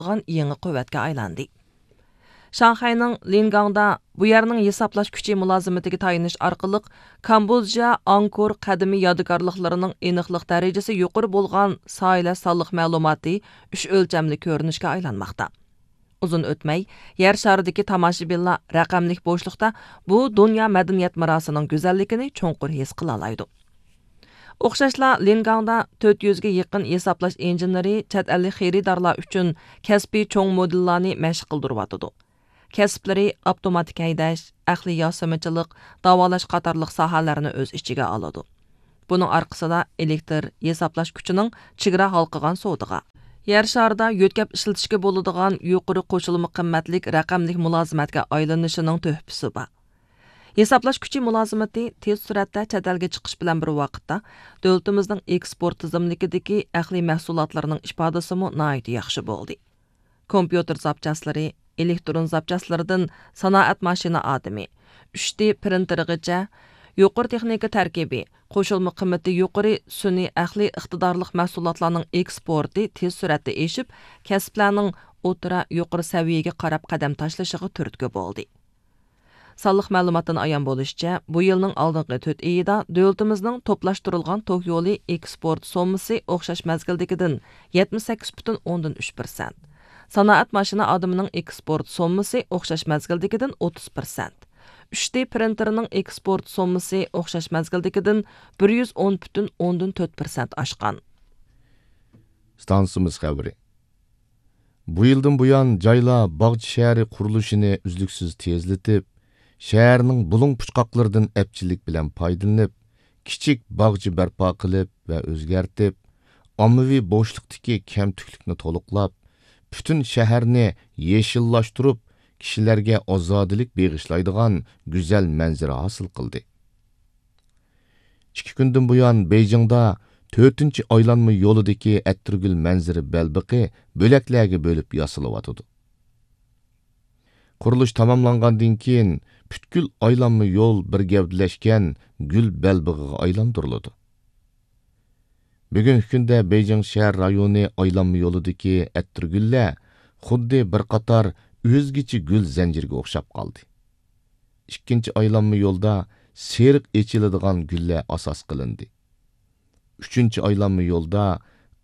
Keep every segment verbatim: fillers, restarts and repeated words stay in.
قىلىدىغان يېڭى قۇۋۋەتكە ئايلاندى. شاڭخەينىڭ لىنگاڭدا بۇ يەرنىڭ ھېسابلاش كۈچى مۇلازىمىتىگە تايىنىش ئارقىلىق كامبودژا ئاڭكور قەدىمىي يادىكارلىقلىرىنىڭ ئېنىقلىق دەرىجىسى يۇقىرى بولغان ساھىلە سانلىق مەلۇماتى ئۈچ ئۆلچەملىك كۆرۈنۈشكە ئايلانماقتا. ئۇزۇن ئۆتمەي، يەر شارىدىكى تاماشىبىنلار رەقەملىك بوشلۇقتا بۇ دۇنيا مەدەنىيەت مىراسىنىڭ گۈزەللىكىنى چوڭقۇر ھېس قىلالايدۇ. ئوخشاشلا، لىنگاڭدا تۆت يۈزگە يېقىن ھېسابلاش ئىنژېنېرى چەت ئەللىك خېرىدارلار ئۈچۈن كەسپىي چوڭ مودېللارنى مەشىق قىلدۇرۇۋاتىدۇ. كەسىپلىرى ئاپتوماتىك ھەيدەش، ئەقلىي ياسىمىچىلىق، داۋالاش قاتارلىق ساھەلەرنى ئۆز ئىچىگە ئالىدۇ. بۇنىڭ ئارقىسىدا ئېلېكتر ھېسابلاش كۈچىنىڭ چېگرا ھالقىغان سودىغا، يەر شارىدا يۆتكەپ ئىشلىتىشكە بولىدىغان يۇقىرى قوشۇلما قىممەتلىك رەقەملىك مۇلازىمەتكە ئايلىنىشىنىڭ تۆھپىسى بار. ھېسابلاش كۈچى مۇلازىمىتى تېز سۈرئەتتە چەت ئەلگە چىقىش بىلەن بىر ۋاقىتتا، دۆلىتىمىزنىڭ ئېكسپورت تىزىملىكىدىكى ئەقلىي مەھسۇلاتلارنىڭ ئىپادىسىمۇ ناھايىتى ياخشى بولدى. كومپيۇتېر زاپچاسلىرى، ئېلېكترون زاپچاسلىرىدىن سانائەت ماشىنا ئادىمى، ئۈچ دى پرىنتېرىغىچە، يۇقىرى تېخنىكا تەركىبى، قوشۇلما قىممىتى يۇقىرى سۈنئىي ئەقلىي ئىقتىدارلىق مەھسۇلاتلارنىڭ ئېكسپورتى تېز سۈرئەتتە ئېشىپ، كەسىپلەرنىڭ ئوتتۇرا، يۇقىرى سەۋىيەگە قاراپ قەدەم تاشلىشىغا تۈرتكە بولدى. سانلىق مەلۇماتتىن ئايان بولۇشىچە، بۇ يىلنىڭ ئالدىنقى تۆت ئېيىدا دۆلىتىمىزنىڭ توپلاشتۇرۇلغان توك يولى ئېكسپورت سوممىسى ئوخشاش مەزگىلدىكىدىن يەتمىش سەككىز پۈتۈن ئوندىن ئۈچ پىرسەنت، سانائەت ماشىنا ئادىمىنىڭ ئېكسپورت سوممىسى ئوخشاش مەزگىلدىكىدىن ئوتتۇز پىرسەنت، ئۈچ دى پرىنتېرنىڭ ئېكسپورت سوممىسى ئوخشاش مەزگىلدىكىدىن بىر يۈز ئون پۈتۈن ئوندىن تۆت پىرسەنت ئاشقان. ئىستانسىمىز خەۋىرى. بۇ يىلدىن بۇيان، جايلار باغچە شەھىرى قۇرۇلۇشىنى ئۈزلۈكسىز تېزلىتىپ، شەھەرنىڭ بۇلۇڭ پۇچقاقلىرىدىن ئەپچىللىك بىلەن پايدىلىنىپ، كىچىك باغچە بەرپا قىلىپ ۋە ئۆزگەرتىپ، ئاممىۋى بوشلۇقتىكى كەمتۈكلۈكنى تولۇقلاپ، پۈتۈن شەھەرنى يېشىللاشتۇرۇپ، كىشىلەرگە ئازادىلىك بېغىشلايدىغان گۈزەل مەنزىرە ھاسىل قىلدى. ئىككى كۈندىن بۇيان، بېيجىڭدا تۆتىنچى ئايلانما يولىدىكى ئەتىرگۈل مەنزىرە بەلبېغى بۆلەكلەرگە بۆلۈپ ياسىلىۋاتىدۇ. قۇرۇلۇش تاماملانغاندىن كېيىن، پۈتكۈل ئايلانما يول بىر گەۋدىلەشكەن گۈل بەلبېغىغا ئايلاندۇرۇلىدۇ. بۈگۈنكى كۈندە بېيجىڭ شەھەر رايونى ئايلانما يولىدىكى ئەتىرگۈللەر خۇددى بىر قاتار ئۆزگىچە گۈل زەنجىرىگە ئوخشاپ قالدى. ئىككىنچى ئايلانما يولدا سېرىق ئېچىلىدىغان گۈللەر ئاساس قىلىندى. ئۈچىنچى ئايلانما يولدا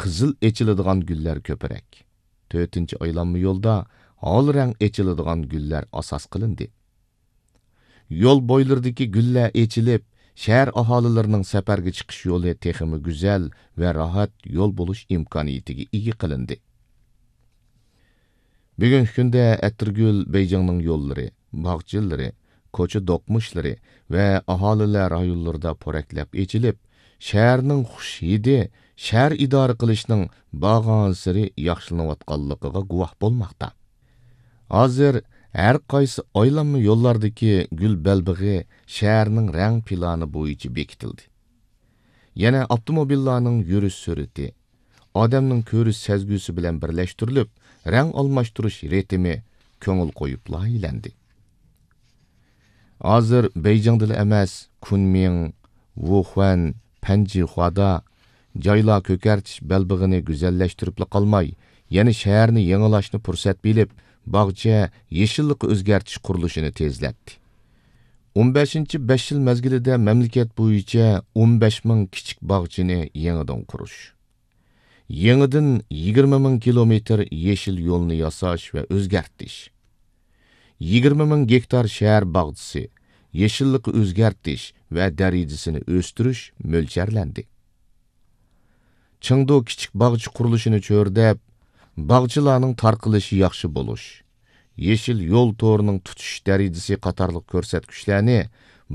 قىزىل ئېچىلىدىغان گۈللەر كۆپرەك. تۆتىنچى ئايلانما يولدا ھال رەڭ ئېچىلىدىغان گۈللەر ئاساس قىلىندى. يول بويلىرىدىكى گۈللەر ئېچىلىپ، شەھەر ئاھالىلىرىنىڭ سەپەرگە چىقىش يولى تېخىمۇ گۈزەل ۋە راھەت يول بولۇش ئىمكانىيىتىگە ئىگە قىلىندى. بۈگۈنكى كۈندە ئەتىرگۈل بېيجىڭنىڭ يوللىرى، باغچىلىرى، كوچا دوقمۇشلىرى ۋە ئاھالىلەر رايونلىرىدا پورەكلەپ ئېچىلىپ، شەھەرنىڭ خۇش ھىدى شەھەر ئىدارە قىلىشنىڭ بارغانسېرى ياخشىلىنىۋاتقانلىقىغا گۇۋاھ بولماقتا. ھازىر ھەر قايسى ئايلانما يوللاردىكى گۈل بەلبېغى شەھەرنىڭ رەڭ پىلانى بويىچە بېكىتىلدى. يەنە ئاپتوموبىللارنىڭ يۈرۈش سۈرئىتى، ئادەمنىڭ كۆرۈش سەزگۈسى بىلەن بىرلەشتۈرۈلۈپ، رەڭ ئالماشتۇرۇش رىتىمى كۆڭۈل قويۇپ لايىھەلەندى. ھازىر بېيجىڭدىلا ئەمەس، كۇنمىڭ، ۋۇخۈەن، پەنجىخۇادا جايلار كۆكەرتىش بەلبېغىنى گۈزەللەشتۈرۈپلا قالماي، يەنە شەھەرنى يېڭىلاشنى پۇرسەت بىلىپ، باغچە، يېشىللىققا ئۆزگەرتىش قۇرۇلۇشىنى تېزلەتتى. ئون بەشىنچى بەش يىل مەزگىلىدە مەملىكەت بويىچە ئون بەش مىڭ كىچىك باغچىنى يېڭىدىن قۇرۇش، يېڭىدىن يىگىرمە مىڭ كىلومېتىر يېشىل يولنى ياساش ۋە ئۆزگەرتىش، يىگىرمە مىڭ گېكتار شەھەر باغچىسى، يېشىللىققا ئۆزگەرتىش ۋە دەرىجىسىنى ئۆستۈرۈش مۆلچەرلەندى. چېڭدۇ كىچىك باغچە قۇرۇلۇشىنى چۆرىدەپ، باغچىلارنىڭ تارقىلىشى ياخشى بولۇش، يېشىل يول تورىنىڭ تۇتىشىش دەرىجىسى قاتارلىق كۆرسەتكۈچلەرنى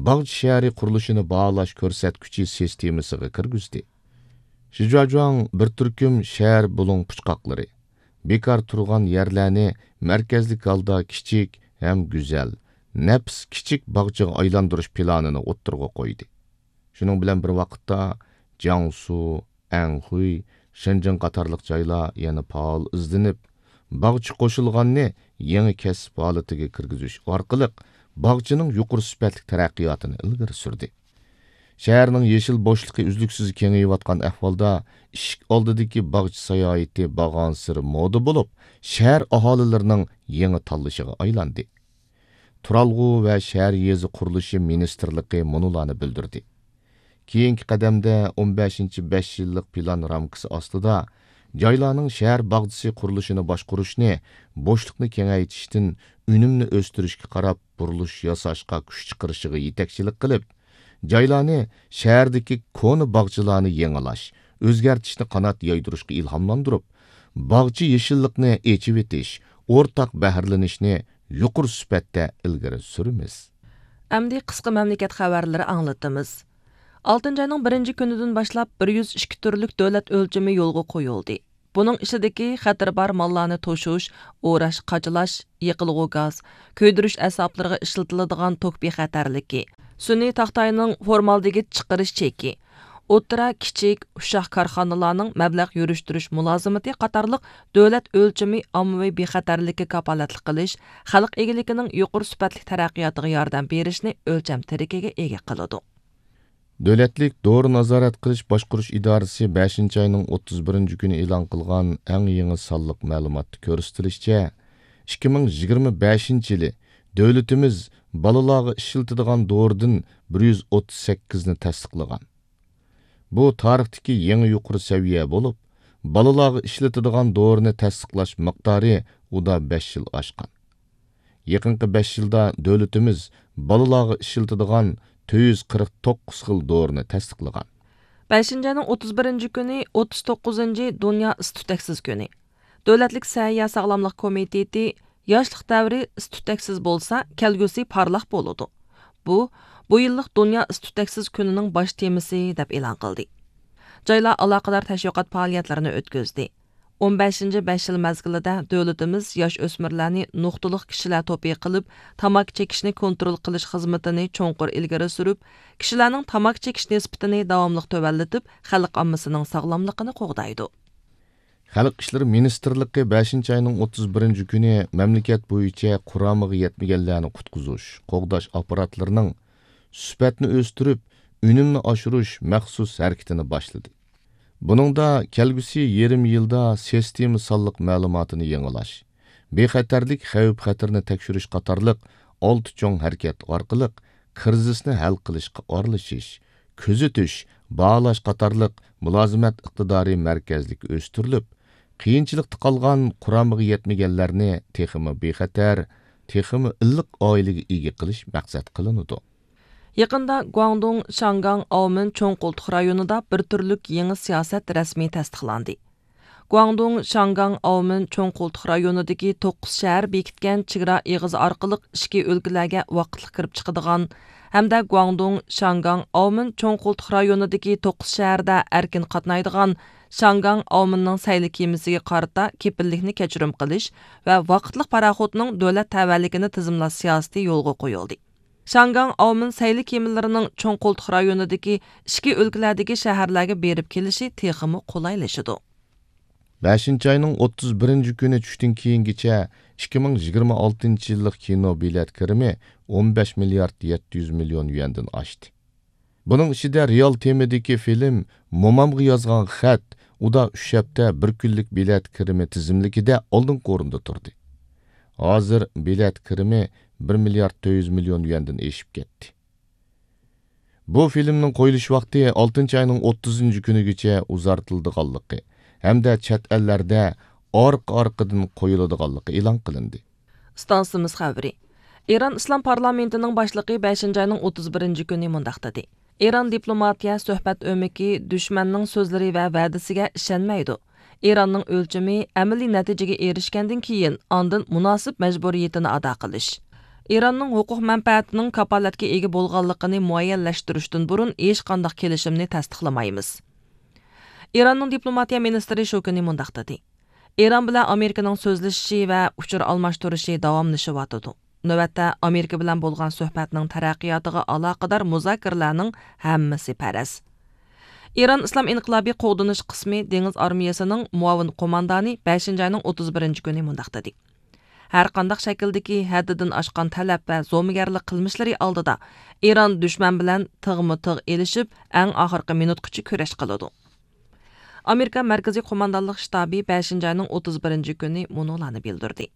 باغچە شەھىرى قۇرۇلۇشىنى باھالاش كۆرسەتكۈچى سىستېمىسىغا كىرگۈزدى. شىجۇاجۇاڭ بىر تۈركۈم شەھەر بۇلۇڭ پۇچقاقلىرى، بىكار تۇرغان يەرلەرنى مەركەزلىك ھالدا كىچىك ھەم گۈزەل، نەپىس كىچىك باغچىغا ئايلاندۇرۇش پىلانىنى ئوتتۇرىغا قويدى. شۇنىڭ بىلەن بىر ۋاقىتتا، جياڭسۇ، ئەنخۇي، شېنجېن قاتارلىق جايلار يەنە پائال ئىزدىنىپ، باغچە قوشۇلغاننى يېڭى كەسىپ ھالىتىگە كىرگۈزۈش ئارقىلىق باغچىنىڭ يۇقىرى سۈپەتلىك تەرەققىياتىنى ئىلگىرى سۈردى. شەھەرنىڭ يېشىل بوشلۇقى ئۈزلۈكسىز كېڭىيىۋاتقان ئەھۋالدا، ئىشىك ئالدىدىكى باغچە ساياھىتى بارغانسېرى مودا بولۇپ، شەھەر ئاھالىلىرىنىڭ يېڭى تاللىشىغا ئايلاندى. تۇرالغۇ ۋە شەھەر يېزا قۇرۇلۇشى مىنىستىرلىقى مۇنۇلارنى بىلدۈردى: كېيىنكى قەدەمدە ئون بەشىنچى بەش يىللىق پىلان رامكىسى ئاستىدا جايلارنىڭ شەھەر باغچىسى قۇرۇلۇشىنى باشقۇرۇشنى، بوشلۇقنى كېڭەيتىشتىن ئۈنۈمنى ئۆستۈرۈشكە قاراپ بۇرۇلۇش ياساشقا كۈچ چىقىرىشىغا يېتەكچىلىك قىلىپ، جايلارنى شەھەردىكى كونا باغچىلارنى يېڭىلاش، ئۆزگەرتىشنى قانات يايدۇرۇشقا ئىلھاملاندۇرۇپ، باغچە يېشىللىقنى ئېچىۋېتىش، ئورتاق بەھرىلىنىشنى يۇقىرى سۈپەتتە ئىلگىرى سۈرىمىز. ئەمدى قىسقا مەملىكەت خەۋەرلىرى ئاڭلىتىمىز. ئالتىنچى ئاينىڭ بىرىنچى كۈنىدىن باشلاپ بىر يۈز ئىككى تۈرلۈك دۆلەت ئۆلچىمى يولغا قويۇلدى. بۇنىڭ ئىچىدىكى خەتىرى بار ماللارنى توشۇش، ئوراش، قاچىلاش، يېقىلغۇ گاز، كۆيدۈرۈش ئەسۋابلىرىغا ئىشلىتىلىدىغان توك بىخەتەرلىكى، سۈنئىي تاختاينىڭ فورمالدېگىد چىقىرىش چېكى، ئوتتۇرا، كىچىك، ئۇششاق كارخانىلارنىڭ مەبلەغ يۈرۈشتۈرۈش مۇلازىمىتى قاتارلىق دۆلەت ئۆلچىمى ئاممىۋى بىخەتەرلىككە كاپالەتلىك قىلىش، خەلق ئىگىلىكىنىڭ يۇقىرى سۈپەتلىك تەرەققىياتىغا ياردەم بېرىشنى ئۆلچەم تىرىكىگە ئىگە قىلىدۇ. دۆلەتلىك دورا نازارەت قىلىش باشقۇرۇش ئىدارىسى بەشىنچى ئاينىڭ ئوتتۇز بىرىنچى كۈنى ئېلان قىلغان ئەڭ يېڭى سانلىق مەلۇماتتا كۆرسىتىلىشىچە، ئىككى مىڭ يىگىرمە بەشىنچى يىلى دۆلىتىمىز بالىلارغا ئىشلىتىدىغان دورىدىن بىر يۈز ئوتتۇز سەككىزنى تەستىقلىغان. بۇ تارىختىكى يېڭى يۇقىرى سەۋىيە بولۇپ، بالىلارغا ئىشلىتىدىغان دورىنى تەستىقلاش مىقدارى ئۇدا بەش يىل ئاشقان. يېقىنقى بەش يىلدا دۆلىتىمىز بالىلارغا ئىشلىتىدىغان تۆت يۈز قىرىق توققۇز خىل دورىنى تەستىقلىغان. بەشىنچى ئاينىڭ ئوتتۇز بىرىنچى كۈنى ئوتتۇز توققۇزىنچى دۇنيا ئىس-تۈتەكسىز كۈنى. دۆلەتلىك سەھىيە ساغلاملىق كومىتېتى ياشلىق دەۋرى ئىس-تۈتەكسىز بولسا، كەلگۈسى پارلاق بولىدۇ. بۇ، بۇ يىللىق دۇنيا ئىس-تۈتەكسىز كۈنىنىڭ باش تېمىسى دەپ ئېلان قىلدى. جايلار ئالاقىدار تەشۋىقات پائالىيەتلىرىنى ئۆتكۈزدى. ئون بەشىنچى بەش يىل مەزگىلىدە دۆلىتىمىز ياش ئۆسمۈرلەرنى نۇقتىلىق كىشىلەر توپى قىلىپ، تاماكا چېكىشنى كونترول قىلىش خىزمىتىنى چوڭقۇر ئىلگىرى سۈرۈپ، كىشىلەرنىڭ تاماكا چېكىش نىسبىتىنى داۋاملىق تۆۋەنلىتىپ، خەلق ئاممىسىنىڭ ساغلاملىقىنى قوغدايدۇ. خەلق ئىشلىرى مىنىستىرلىقى بەشىنچى ئاينىڭ ئوتتۇز بىرىنچى كۈنى مەملىكەت بويىچە قۇرامىغا يەتمىگەنلەرنى قۇتقۇزۇش، قوغداش ئاپپاراتلىرىنىڭ سۈپەتنى ئۆستۈرۈپ، ئۈنۈمنى ئاشۇرۇش مەخسۇس ھەرىكىتىنى باشلىدى. بۇنىڭدا كەلگۈسى يېرىم يىلدا سىستېما سانلىق مەلۇماتىنى يېڭىلاش، بىخەتەرلىك خەۋپ-خەتىرىنى تەكشۈرۈش قاتارلىق ئالتە چوڭ ھەرىكەت ئارقىلىق كىرىزىسنى ھەل قىلىشقا ئارىلىشىش، كۆزىتىش، باھالاش قاتارلىق مۇلازىمەت ئىقتىدارى مەركەزلىك ئۆستۈرۈلۈپ، قىيىنچىلىقتا قالغان قۇرامىغا يەتمىگەنلەرنى تېخىمۇ بىخەتەر، تېخىمۇ ئىللىق ئائىلىگە ئىگە قىلىش مەقسەت قىلىنىدۇ. يېقىندا گۇاڭدۇڭ، شياڭگاڭ، ئاۋمېن چوڭ قولتۇق رايونىدا بىر تۈرلۈك يېڭى سىياسەت رەسمىي تەستىقلاندى. گۇاڭدۇڭ، شياڭگاڭ، ئاۋمېن چوڭ قولتۇق رايونىدىكى توققۇز شەھەر بېكىتكەن چېگرا ئېغىزى ئارقىلىق ئىچكى ئۆلكىلەرگە ۋاقىتلىق كىرىپ چىقىدىغان ھەمدە گۇاڭدۇڭ، شياڭگاڭ، ئاۋمېن چوڭ قولتۇق رايونىدىكى توققۇز شەھەردە ئەركىن قاتنايدىغان شياڭگاڭ، ئاۋمېننىڭ سەيلە كېمىسىگە قارىتا كېپىللىكنى كەچۈرۈم قىلىش ۋە ۋاقىتلىق پاراخوتنىڭ دۆلەت تەۋەلىكىنى تىزىملاش سىياسىتى يولغا قويۇلدى. شياڭگاڭ، ئاۋمېن سەيلە كېمىلىرىنىڭ چوڭ قولتۇق رايونىدىكى ئىچكى ئۆلكىلەردىكى شەھەرلەرگە بېرىپ كېلىشى تېخىمۇ قولايلىشىدۇ. بەشىنچى ئاينىڭ ئوتتۇز بىرىنچى كۈنى چۈشتىن كېيىنگىچە ئىككى مىڭ يىگىرمە ئالتىنچى يىللىق كىنو بېلەت كىرىمى ئون بەش مىليارد يەتتە يۈز مىليون يۈەندىن ئاشتى. بۇنىڭ ئىچىدە رېئال تېمىدىكى فىلىم، مومامغا يازغان خەت، ئۇدا ئۈچ ھەپتە بىر كۈنلۈك بېلەت كىرىمى تىزىملىكىدە ئالدىنقى ئورۇندا تۇردى. ھازىر بېلەت كىرىمى بىر مىليارد تۆت يۈز مىليون يۈەندىن ئېشىپ كەتتى. بۇ فىلىمنىڭ قويۇلۇش ۋاقتى ئالتىنچى ئاينىڭ ئوتتۇزىنچى كۈنىگىچە ئۇزارتىلىدىغانلىقى ھەمدە چەت ئەللەردە ئارقا-ئارقىدىن قويۇلىدىغانلىقى ئېلان قىلىندى. ئىستانسىمىز خەۋىرى. ئىران ئىسلام پارلامېنتىنىڭ باشلىقى بەشىنچى ئاينىڭ ئوتتۇز بىرىنچى كۈنى مۇنداق دېدى: ئىران دىپلوماتىيە سۆھبەت ئۆمىكى دۈشمەننىڭ سۆزلىرى ۋە ۋەدىسىگە ئىشەنمەيدۇ. ئىراننىڭ ئۆلچىمى ئەمەلىي نەتىجىگە ئېرىشكەندىن كېيىن، ئاندىن مۇناسىپ مەجبۇرىيىتىنى ئادا قىلىش. ئىراننىڭ ھوقۇق مەنپەئەتىنىڭ كاپالەتكە ئىگە بولغانلىقىنى مۇئەييەنلەشتۈرۈشتىن بۇرۇن ھېچقانداق كېلىشىمنى تەستىقلىمايمىز. ئىراننىڭ دىپلوماتىيە مىنىستىرى شۇ كۈنى مۇنداق دېدى: ئىران بىلەن ئامېرىكىنىڭ سۆزلىشىشى ۋە ئۇچۇر ئالماشتۇرۇشى داۋاملىشىۋاتىدۇ. نۆۋەتتە ئامېرىكا بىلەن بولغان سۆھبەتنىڭ تەرەققىياتىغا ئالاقىدار مۇزاكىرىلەرنىڭ ھەممىسى پەرەز. ئىران ئىسلام ئىنقىلابىي قوغدىنىش قىسمى دېڭىز ئارمىيەسىنىڭ مۇئاۋىن قوماندانى بەشىنچى ئاينىڭ ئوتتۇز بىرىنچى كۈنى مۇنداق دېدى: ھەرقانداق شەكىلدىكى ھەددىدىن ئاشقان تەلەپ ۋە زومىگەرلىك قىلمىشلىرى ئالدىدا ئىران دۈشمەن بىلەن تىغمۇ تىغ ئېلىشىپ، ئەڭ ئاخىرقى مىنۇتقىچە كۈرەش قىلىدۇ. ئامېرىكا مەركىزىي قوماندانلىق شتابى بەشىنچى ئاينىڭ ئوتتۇز بىرىنچى كۈنى مۇنۇلارنى بىلدۈردى.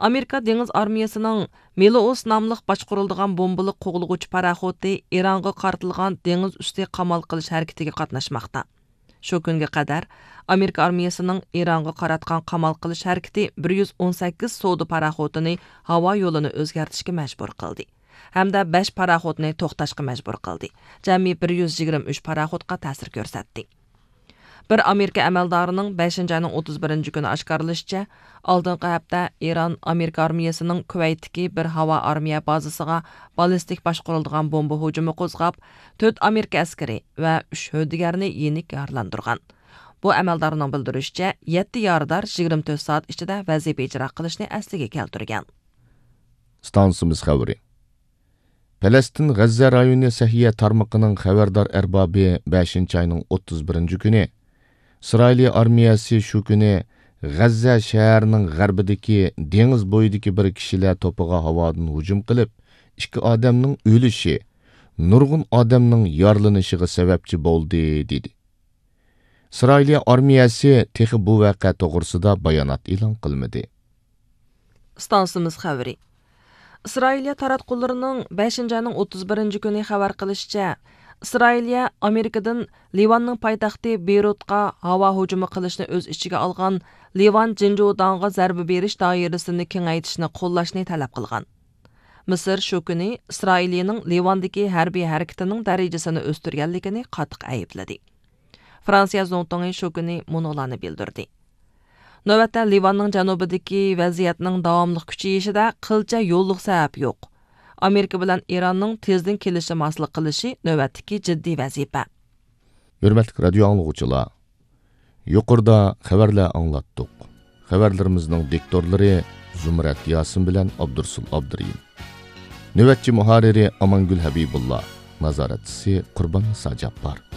ئامېرىكا دېڭىز ئارمىيەسىنىڭ مىلوئوس ناملىق باشقۇرۇلىدىغان بومبىلىق قوغلىغۇچى پاراخوتى ئىرانغا قارىتىلغان دېڭىز ئۈستى قامال قىلىش ھەرىكىتىگە قاتناشماقتا. شۇ كۈنگە قەدەر ئامېرىكا ئارمىيەسىنىڭ ئىرانغا قاراتقان قامال قىلىش ھەرىكىتى بىر يۈز ئون سەككىز سودا پاراخوتىنى ھاۋا يولىنى ئۆزگەرتىشكە مەجبۇر قىلدى ھەمدە بەش پاراخوتنى توختاشقا مەجبۇر قىلدى. جەمئىي بىر يۈز يىگىرمە ئۈچ پاراخوتقا تەسىر كۆرسەتتى. بىر ئامېرىكا ئەمەلدارىنىڭ بەشىنچى ئاينىڭ ئوتتۇز بىرىنچى كۈنى ئاشكارىلىشىچە، ئالدىنقى ھەپتە ئىران ئامېرىكا ئارمىيەسىنىڭ كۇۋەيتتىكى بىر ھاۋا ئارمىيە بازىسىغا باللىستىك باشقۇرۇلىدىغان بومبا ھۇجۇمى قوزغاپ، تۆت ئامېرىكا ئەسكىرى ۋە ئۈچ ھۆددىگەرنى يېنىك يارىلاندۇرغان. بۇ ئەمەلدارنىڭ بىلدۈرۈشىچە، يەتتە يارىدار يىگىرمە تۆت سائەت ئىچىدە ۋەزىپە ئىجرا قىلىشنى ئەسلىگە كەلتۈرگەن. ئىستانسىمىز خەۋىرى. پەلەستىن غەززە رايونى سەھىيە تارمىقىنىڭ خەۋەردار ئەربابى بەشىنچى ئاينىڭ ئوتتۇز بىرىنچى كۈنى ئىسرائىلىيە ئارمىيەسى شۇ كۈنى غەززە شەھىرىنىڭ غەربىدىكى دېڭىز بويىدىكى بىر كىشىلەر توپىغا ھاۋادىن ھۇجۇم قىلىپ، ئىككى ئادەمنىڭ ئۆلۈشى، نۇرغۇن ئادەمنىڭ يارىلىنىشىغا سەۋەبچى بولدى، دېدى. ئىسرائىلىيە ئارمىيەسى تېخى بۇ ۋەقە توغرىسىدا بايانات ئېلان قىلمىدى. ئىستانسىمىز خەۋىرى. ئىسرائىلىيە تاراتقۇلىرىنىڭ بەشىنچى ئاينىڭ ئوتتۇز بىرىنچى كۈنى خەۋەر قىلىشىچە، ئىسرائىلىيە ئامېرىكىدىن لىۋاننىڭ پايتەختى بېيرۇتقا ھاۋا ھۇجۇمى قىلىشنى ئۆز ئىچىگە ئالغان لىۋان جىنجۇداڭغا زەربە بېرىش دائىرىسىنى كېڭەيتىشنى قوللاشنى تەلەپ قىلغان. مىسىر شۇ كۈنى ئىسرائىلىيىنىڭ لىۋاندىكى ھەربىي ھەرىكىتىنىڭ دەرىجىسىنى ئۆستۈرگەنلىكىنى قاتتىق ئەيىبلىدى. فرانسىيە زۇڭتۇڭى شۇ كۈنى مۇنۇلارنى بىلدۈردى. نۆۋەتتە لىۋاننىڭ جەنۇبىدىكى ۋەزىيەتنىڭ داۋاملىق كۈچىيىشىدە قىلچە يوللۇق سەۋەب يوق. ئامېرىكا بىلەن ئىراننىڭ تېزدىن كېلىشىماسلىق قىلىشى نۆۋەتتىكى جىددىي ۋەزىپە. ھۆرمەتلىك رادىيو ئاڭلىغۇچىلار، يۇقىرىدا خەۋەرلەر ئاڭلاتتۇق. خەۋەرلىرىمىزنىڭ دىكتورلىرى زۇمرەت ياسىن بىلەن ئابدۇرسۇل ئابدۇرېھىم. نۆۋەتچى مۇھەررىرى ئامانگۈل ھەبىبۇللا، نازارەتچىسى قۇرباننىسا جاپپار.